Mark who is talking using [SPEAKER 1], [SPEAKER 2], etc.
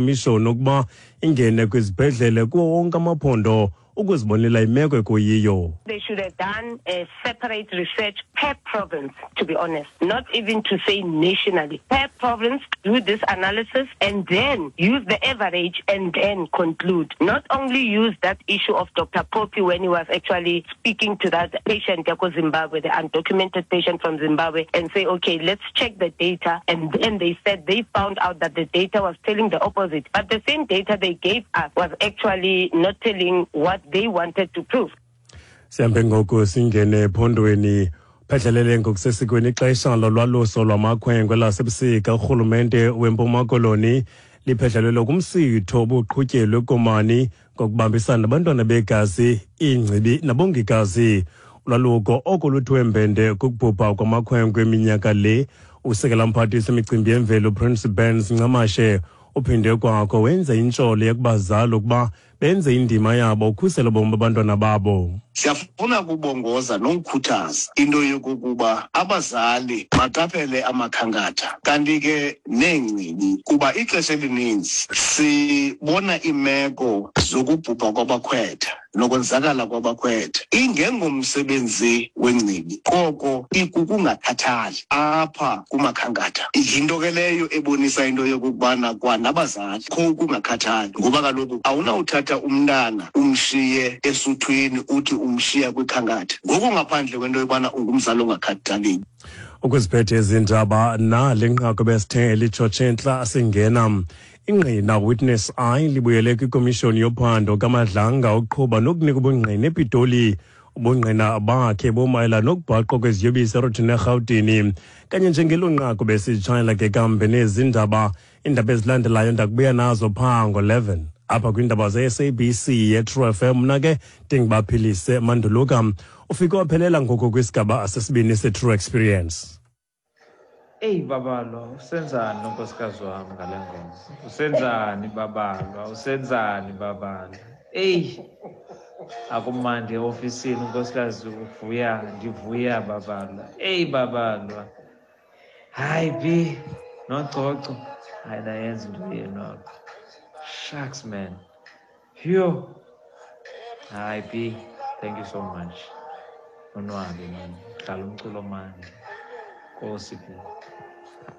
[SPEAKER 1] Komishoni ukuba ingene kwizibhedlele kuwo wonke amaphondo ukuzibonela imeko ekuyiyo.
[SPEAKER 2] They should have done a separate research per province, to be honest, not even to say nationally. Per province, do this analysis and then use the average and then conclude. Not only use that issue of Dr. Poppy when he was actually speaking to that patient, Zimbabwe, the undocumented patient from Zimbabwe, and say, okay, let's check the data. And then they said they found out that the data was telling the opposite. But the same data they gave us was actually not telling what they wanted to prove.
[SPEAKER 1] Sihambe ngoku singene ephondweni. Phedlelele ngokusesikweni ixesha lolwaluso lwamakhwenkwe lasebusika, urhulumente weMpuma Koloni liphedlelelwe kumsitho obuqhutyelwe eKomani ngokubambisana nabantwana begazi, iingcibi nabongikazi. Ulwaluko oko luthiwe mbende kukubhubha kwamakhwenkwe eminyaka le. Usekela mphathiswa imicimbi yemveli uPrince Burns Ncamashe uphinde kwakho wenza intsholo yekubazali ukuba benze indima yabo ukhusela ubomi babantwana babo.
[SPEAKER 3] Siyafuna ukubongoza nokukhuthaza into yokokuba abazali baqaphele amakhankatha kanti ke neengcibi, kuba ixesha elininzi sibona iimeko zokubhubha kwabakhwetha nokonzakala kwabakhwetha ingengomsebenzi wengcibi, koko ikukungakhathali apha kumakhankatha. Yinto ke leyo ebonisa into yokokubana kwanabazali kho ukungakhathali, ngoba kaloku awunawuthatha umntana umshiye esuthwini uthi umshiya kwikhankatha ngokungaphandle kwento yobana ungumzali ongakhathaliyo.
[SPEAKER 1] Ukuziphethe izindaba nale nqaku besithe litshotshe entla singena. Ingqina Witness I libuyele kwikomishoni yophando kaMadlanga uqhuba nokunika ubungqina ePitoli. Ubungqina bakhe bumayela nokubhaqwa kweziyobisi eRothini eRhawutini. Kanye njengelo nqaku besitshayela ke kambe nezi ndaba. Iindaba ezilandelayo ndakubuya nazo phaa ngo-11 apha kwiindaba ze-SABC ye-True FM. Mna ke ndingubaphilise Manduluka. Ufike waphelela ngoku kwisigaba sesibini se-True Experience.
[SPEAKER 4] Eyi Babalwa, usenzani nonkosikazi wami ngale ngoma? Usenzani Babalwa? Usenzani Babalwa? Eyi, akumandi eofisini, unkosikazi uvuya, ndivuya Babalwa. Eyi Babalwa. Hayi bi nococo. Hayi, nayenza into yenu apha. Shucks man. Phew. Hayi bi, thank you so much. Nonwabe man. Dlala umculo mandi. Nkosi bi.